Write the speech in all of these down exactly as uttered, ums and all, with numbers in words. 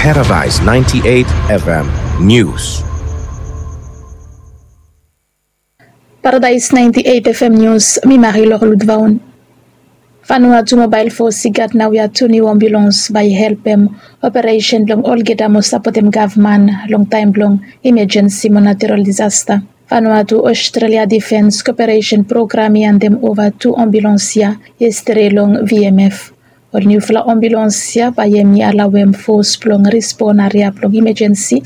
Paradise ninety-eight F M News. Paradise ninety-eight F M News, mi Marilor Ludvaun. Vanuatu Mobile Force i gat naoia tu niu ambulans bae i helpem operesen blong olgeta mo sapotem gavman long taem blong imajensi mo natural disasta. Vanuatu Australia Defence Cooperation Program i handem ova tu ambulans ia yestede long V M F. Ol niufala ambulans ia bae hemi alaoem fos blong respon aria blong imajensi,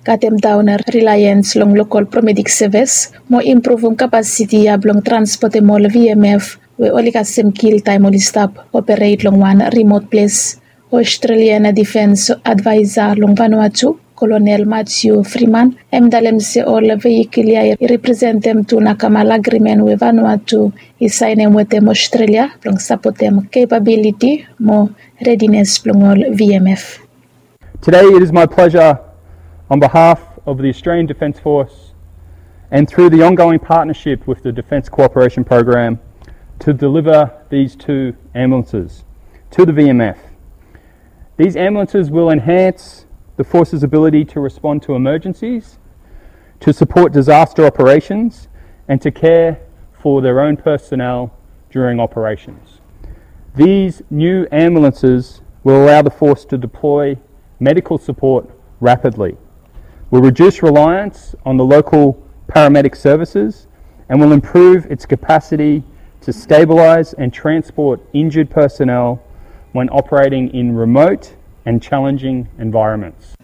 katem daon reliance long lokol paramedic service, mo impruvum kapasiti ia blong transpotem ol V M F we oli kasem kil taem oli stap operet long wan rimot ples. Australian Defence Adviser long Vanuatu, Kolonel Matthew Freeman, hem i talem se ol vehikol ia i representem tu Nakamal Agreement we Vanuatu i saenem wetem Australia blong sapotem capability mo readiness blong ol V M F. Today it is my pleasure, on behalf of the Australian Defence Force and through the ongoing partnership with the Defence Cooperation Program, to deliver these two ambulances to the V M F. These ambulances will enhance the force's ability to respond to emergencies, to support disaster operations, and to care for their own personnel during operations. These new ambulances will allow the force to deploy medical support rapidly, will reduce reliance on the local paramedic services, and will improve its capacity to stabilise and transport injured personnel when operating in remote and challenging environments.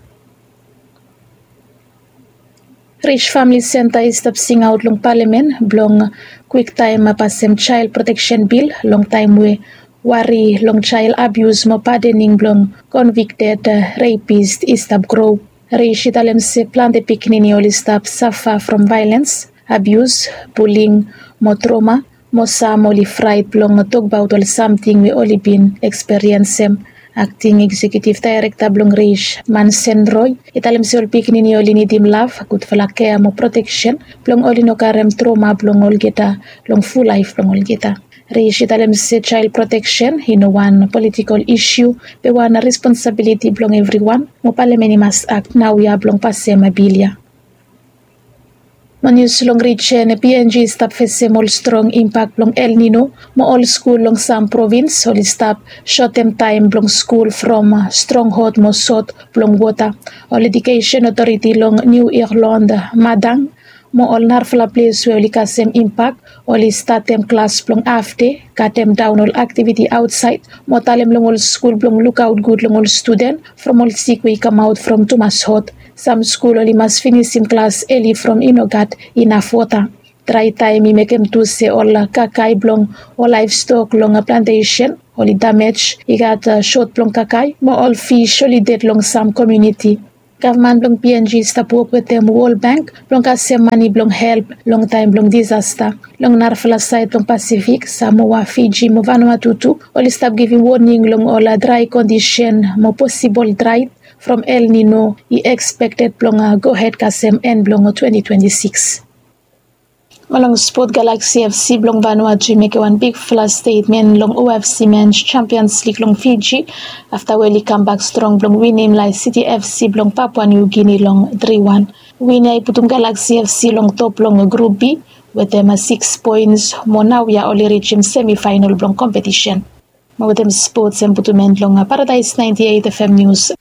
Rich Family Centre i stap singaot long palamen blong kwiktaem pasem Child Protection Bill long taem we wari long child abuse mo padening blong convicted rapist i stap gro. Rich i talem se plante pikinini oli stap safa from vaelens, abuse, bullying mo trauma, mo sam oli fraet blong tokbaot ol samting we oli bin eksperiensem. Acting Executive Director blong Rich, Mansen Roy, i talem se ol pikinini oli nidim lav, gudfala kea mo proteksen blong oli no karem trauma blong olgeta long ful laef blong olgeta. Rich i talem se child protection i no wan politikol isiu, be wan responsabiliti blong evriwan, mo palamen i mas akt naoia blong pasem bil ia. Mo nius long rijen, P N G i stap fesem ol strong impak blong El Nino, mo ol skul long sam provins oli stap sotem taem blong skul from strong hot mo sot blong wota. Ol Education Authority long New Ireland, Madang, mo ol narafala ples we oli kasem impak, oli statem klas blong hafde, katem daon ol aktiviti aotsaed, mo talem long ol skul blong lukaot gud long ol studen from ol sik we i kamaot from tumas hot. Sam skul oli mas finisim klas eli from i no gat inaf wota. Drae taem i mekem tu se ol kakae blong ol laevstok long plantesen oli damej, i gat sot blong kakae, mo ol fis oli ded long sam komuniti. Gavman blong P N G i stap wok wetem World Bank blong kasem mane blong help long taem blong disasta. Long narafala saed blong Pasifik, Samoa, Fiji mo Vanuatu tu oli stap givim woning long ol drae kondisen mo posibol draet from El Nino i ekspekted blong gohed kasem en blong twenti twenti sikis. Mo long spot, Galaxy F C blong Vanuatu i mekem wan bigfala stetmen long O F C Men's Champions League long Fiji, afta we oli kambak strong blong winim Lae City F C blong Papua New Guinea long tri wan. Win ia i putum Galaxy F C long top long Group B wetem sikis poens, mo naoia oli rijim semifaenol blong kompetisen. Mo wetem spots, hem putum en long Paradise ninety-eight F M News.